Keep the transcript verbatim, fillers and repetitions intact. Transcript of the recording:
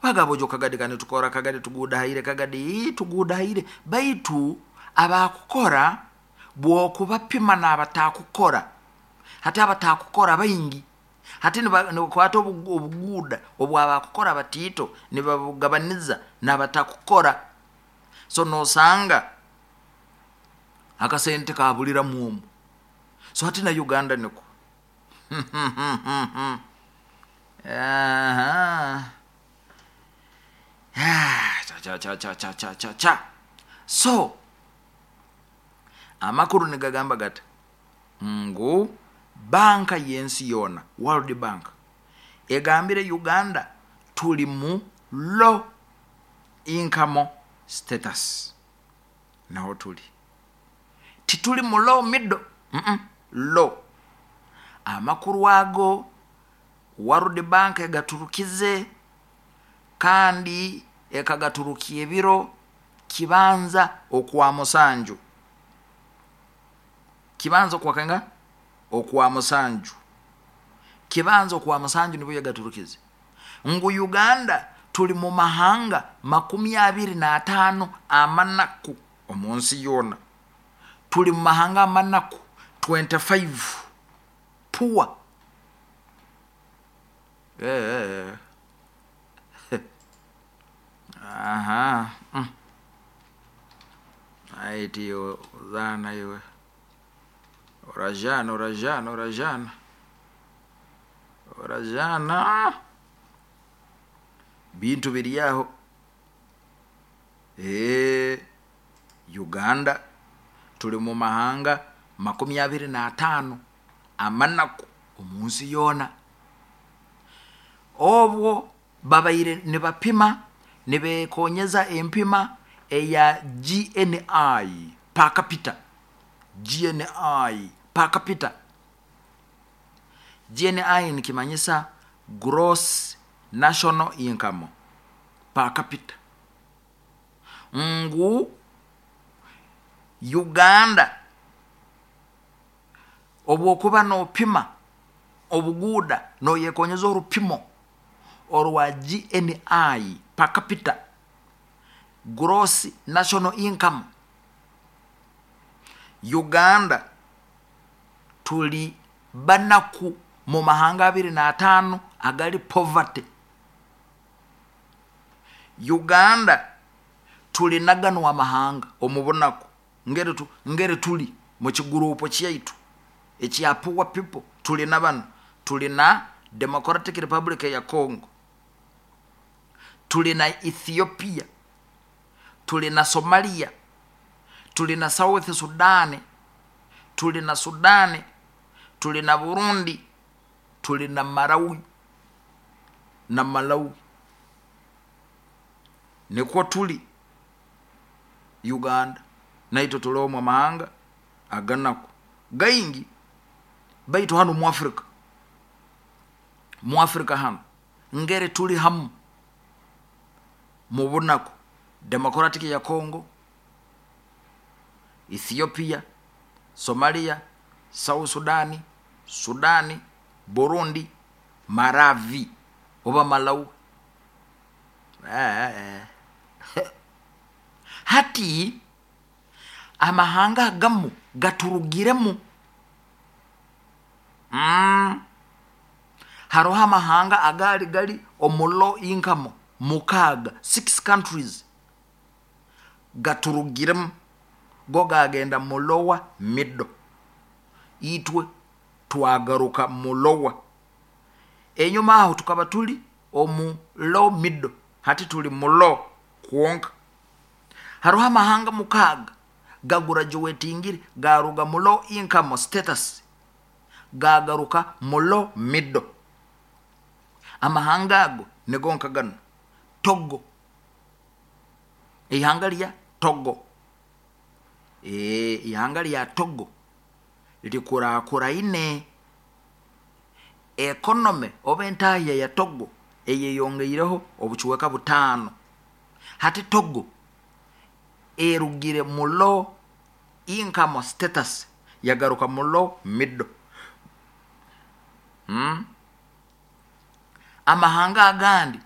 Bagabo kagadi kani tukora kagadi tugudahaire kagadi tugudahaire, baitu abakukora bwokubapima nabatakukora, hati abatakukora baingi, hati nibakwata obuguuda obwabakukora batiito nibabugabaniza nabatakukora, so nosanga akasente kabuliramu omu. So hati na Uganda nikwo. Cha. So amakuru nigagamba gata ngu banka yensi yoona, World Bank, egambire Uganda tuli mu low income status. Naho tuli, tituli mu low middle, mm -mm, low. Amakuru ago World Bank egaturukize, kandi ekagaturukia ebiro kibanza okwa musanju, kibanza okwakenga okwa musanju, kibanza okwa musanju nibwo yagaturukize ngu Uganda tuli mu mahanga makumi abiri n'ataano amanaku omunsi yoona. Tuli mu mahanga amanaku twenty five poor. Aha, aiti zana iwe orajana orajana orajana orajana bintu biri aho. Ee, Uganda tuli mu mahanga makumi abiri n'ataano amanaku omunsi yoona. Obwo babaire nibapima nibekonyeza empima eya G N I per capita, G N I per capita. G N I nikimanyisa gross national income per capita. Ngu Uganda obwokuba nopima obuguuda noyekonyeza orupimo orwa G N I per capita, gross national income. Uganda tuli banaku mu mahanga abiri n'ataano agali poverty. Uganda tuli naganwa amahanga omu bunaku, ngeri, tu, ngeri tuli mu kigurupu kyaitu ekya poor people. Tuli na bano, tuli na Democratic Republic ya Congo, tuli na Ethiopia, tuli na Somalia, tuli na South Sudan, tuli na Sudan, tuli na Burundi, tuli na Malawi na Malawi. Nikwo tuli Uganda, naitwe tuli omu mahanga aganaku gaingi, baitu hano mu Afrika, mu Afrika hano ngere tuli hamu mu bunaku. Democratic ya Congo, Ethiopia, Somalia, South Sudan, Sudan, Burundi, Maravi oba Malawi. Eh, eh. Hati amahanga agamu gaturugiremu. Mm. Haroho amahanga agali gali omu low income mukaaga, six countries gaturugiremu, go gagenda mu lower middle, itwe twagaruka mu lower. Enyuma aho tukaba tuli omu low middle, hati tuli mu low kwonka. Haroho amahanga mukaaga gagurajuwetingire, garuga mu low income status gagaruka mu low middle. Amahanga ago nigo nka gano: Togo, ihanga lya Togo. E, ihanga lya Togo likurakuraine economy oba entahya ya Togo eyeyongeireho obucweka butaano. Hati Togo erugire mu low income status yagaruka mu low middle. Hmm? Amahanga agandi